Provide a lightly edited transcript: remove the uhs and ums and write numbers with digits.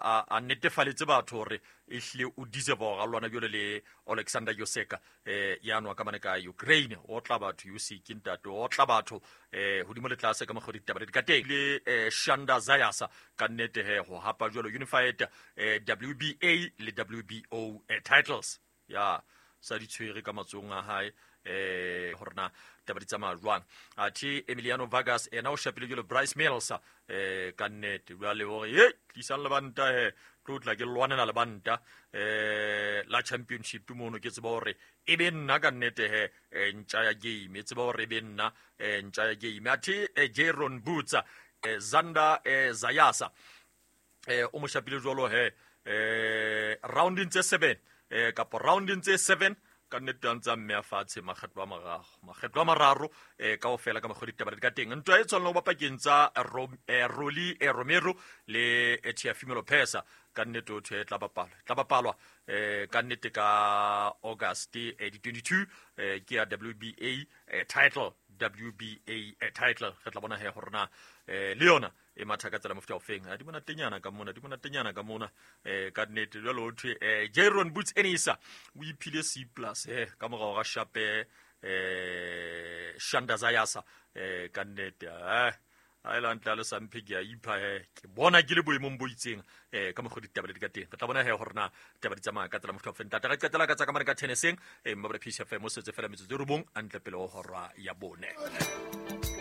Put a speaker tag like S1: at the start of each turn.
S1: a netefaletse batho hore ehlile o deserve hore a lwana jwalo le Alexander Yoseka ya nwa ka mane ka Ukraine. O tla batho Usyk ntate, o tla batho hodimo le tlase ka mokgwa ditaba di ka teng. Le Shanda Zayasa ka nnete he ho hapa jwalo unified WBA le WBO titles ya sa di tshwere ka matsohong a hae, hore na taba di tsamaya jwang. Athe Emiliano Vargas ena o shapile jwalo Bryce Mills, ka nnete jwale hore ye tlisang lebanta he tlo tla ke lwanela lebanta la championship mono, ke tseba hore e be nna ka nnete he ntja ya game, e tseba hore e be nna ntja ya game. Athe Jaron Boots, Zander Zayasa o mo shapile jwalo he rounding tse 7 kapa rounding tse 7 ka nnete a ntse a mme a fatshe makgetlo a mararo, makgetlo a mararo kaofela ka mokgwa ditaba di ka teng. Ntwa e tshwanela ho ba pakeng tsa Rolly Romero le Teofimo Lopez, ka nnete o thwe tla bapalwa, tla bapalwa ka nnete ka August di 22, ke ya WBA title, WBA title. Re tla bona he hore na le yona e matha ka tsela mofuta ofeng. A di monatenyana ka mona, di monatenyana ka mona, ka nnete. Jwale ho thwe Jaron Boots Enisa o iphile C plus ka morao ga shape Shanda Zayasa, ka nnete a ile ntle a le samphe ke a ipha he ke bona ke le boemong bo itseng ka mokgwa ditaba di ka teng. Re tla bona he hore na taba di tsamaya ka tsela mofuta ofeng. Tata re qetela ka tsa ka mane ka tenniseng, Mmabole Peace FM o setse fela metsotso e 9 a ntle pele ho hora ya 4.